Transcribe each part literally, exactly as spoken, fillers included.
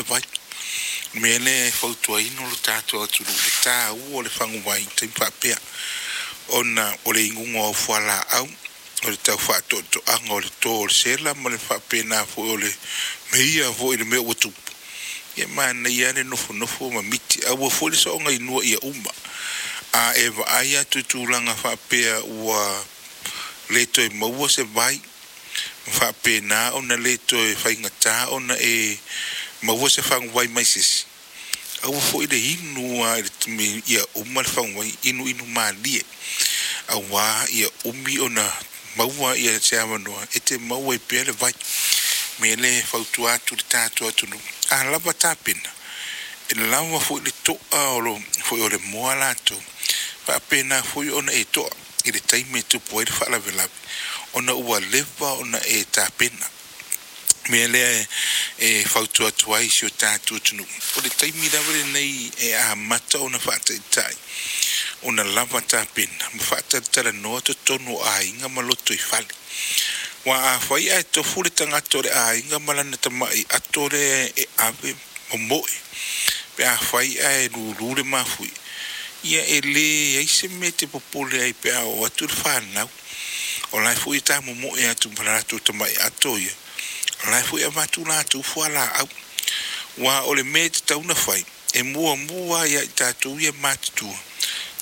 vai. Mea lea e fautuaina o lo tatou atunuu le taua o le faguvai i taimi faapea, ona o le inuga o au fualaau, o le tau faatoatoaga o le to o le sela ma le faapena foi o le meia foi i le mea ua tupu. Ia manaia lava le nofonofo ma miti, aua foi le soona inua ia uma. A e vaai atu i tulaga faapea ua le toe maua se vai, ma faapena ona le toe faigata ona e maua se faguvai mai se isi, aua foi le inu lava ia uma le faguvai, inuinu malie, aua ia umi ona maua ia se avanoa e te maua ai pea le vai. Mea lea e fautua atu i le tatou atunuu, a lava tapena, e lava foi le to'a o lo foi o le moa latou, faapena foi ona e to'a i le taimi e tupu ai le faalavelave, ona ua leva ona e tapena. Mea lea e fautua atu ai i si o tatou atunuu, o le taimi lava lenei e amata ona faataitai ona lava tapena ma faatalatalanoa totonu o aiga ma loto i fale. Aua afai ae tofu le tagata o le aiga ma lana tamai ato lea e ave momoe, pe afai ae lulu le mafuie, ia e leai se mea e te popole ai pe a oo atu le fanau. O la e foi e tamomoe atu ma latou tamai ato ia, o la e foi e avatu latou fualaau. Aua o le mea e tatau ona fai, e muamua lava ia i tatou ia matutua,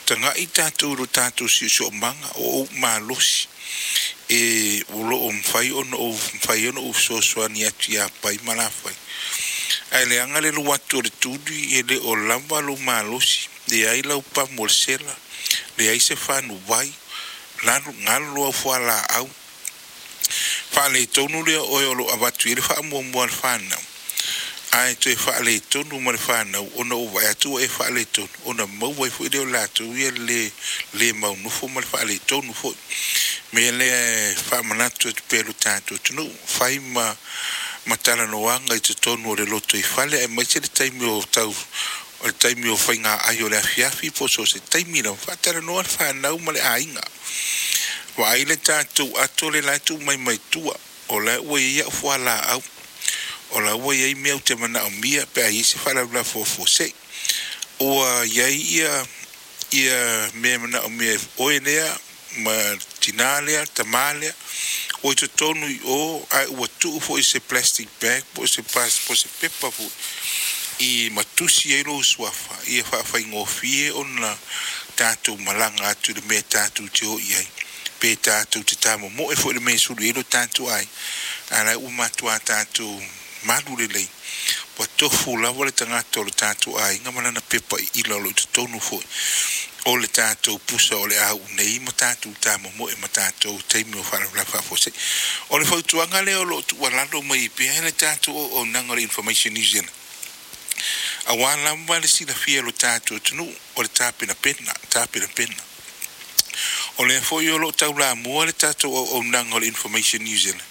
tagai tatou i lo tatou siosiomaga, o ou malosi e o lo o mafai ona ou mafai ona ou fesoasoani atu ia Pai ma Lafai. Ae leaga le alu atu o le tuli e le o lava lou malosi, leai lau pamu o le sela, leai se fanuvai, galu au fualaau, faaletonu lea o oe o lo o avatu i ai le faamuamua a le fanau, ae toe faaletonu ma le fanau ona ua vaai atu ua e faaletonu, ona maua ai foi lea o latou ia le le maunofo ma le faaletonu foi. Mea lea e faamanatu atu pea i lo tatou atunuu, fai ma ma talanoaga i totonu o le lotoifale, aemaise le taimi o tau o le taimi o faiga ai o le afiafi po o so o se taimi lava, faatalanoa le fanau ma le aiga. Vaai le tatou ato lea la e tuu mai mai tua, o la ua i ai au fualaau, o la ua i ai mea ou te manaomia pe a i ai se faalavelave faafuasei. Ua i ai ia ia mea e manaomia e oe lea ma tinā lea, tamā lea, ua i totonu i o, ae ua tuu foi i se plastic bag po o se po o se pepa foi i matusi ai lou suafa, ia faafaigofie ona tatou malaga atu i le mea tatou te o i ai. Pe tatou te tamomoe foi i le mea e sulu i ai lo tatou aiga, a o la ua matua tatou malu lelei, ua tofu lava le tagata o le tatou aiga ma lana pepa iila o lo o i totonu foi o le tatou pusa o le a uu nei ma tatou tamomoe ma tatou taimi o faalavelave faafuasei. O le fautuaga lea o lo o tuualalo mai pea le tatou auaunaga o le Information New Zealand, aua lava le silafia e lo tatou atunuu o le tapenapena, tapenapena. O lea foi o lo o taulamua le tatou auaunaga o le Information New Zealand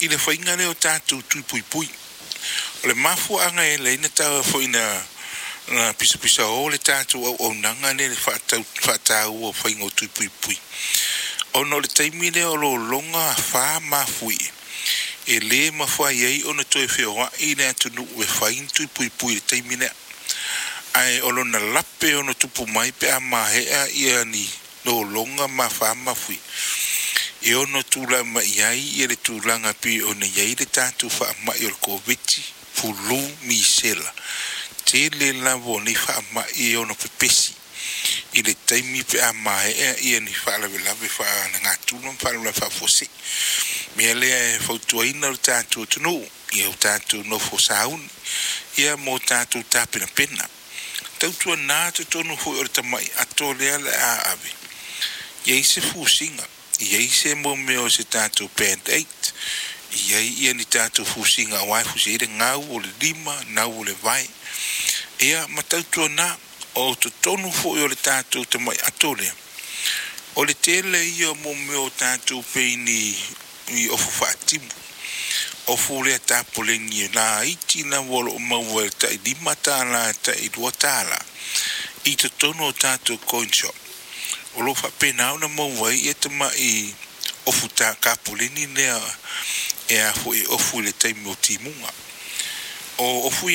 i le faiga lea o tatou tui puipui. O le mafuaaga e ala ai ona tau foi na na pisapisao le tatou auaunaga lea i le faataua o faiga o tui puipui, ona o le taimi lea o lologa afa mafuie, e le mafai ai ona toe feoai le atunuu e fai ni tui puipui i le taimi lea. Ae o lona lape ona tupu mai pe a maea ia ni lologa ma afa mafuie, e ono tulai mai ai ia le tulaga pei ona i ai le tatou faamai o le Koviti, fulu, misela. Tele lava o nei faamai e ono pepesi i le taimi pe a maea ia ni faalavelave faalenatura ma faalavelave faafuasei. Mea lea e fautuaina le tatou atunuu, ia o tatou nofo sauni, ia mo tatou tapenapena. Tautuana totonu foi o le tamai ato lea o le a ave, i ai se fusiga, i ai se mo mea o se tatou band-aid, i ai ia ni tatou fusiga aua e fusi ai le gau o le lima, gau o le vae. Ia ma tautuana o totonu foi o le tatou tamai ato lea, o le tele ia o mea o tatou pei ni ni ofu faatimu, ofu lea tapoleni laiti lava o lo o maua i le tai lima tala tai lua tala i totonu o tatou coin shop. O lo o faapena ona maua ai ia tamai ofu tapoleni lea e a foi e ofu i le taimi o timuga. O ofu ia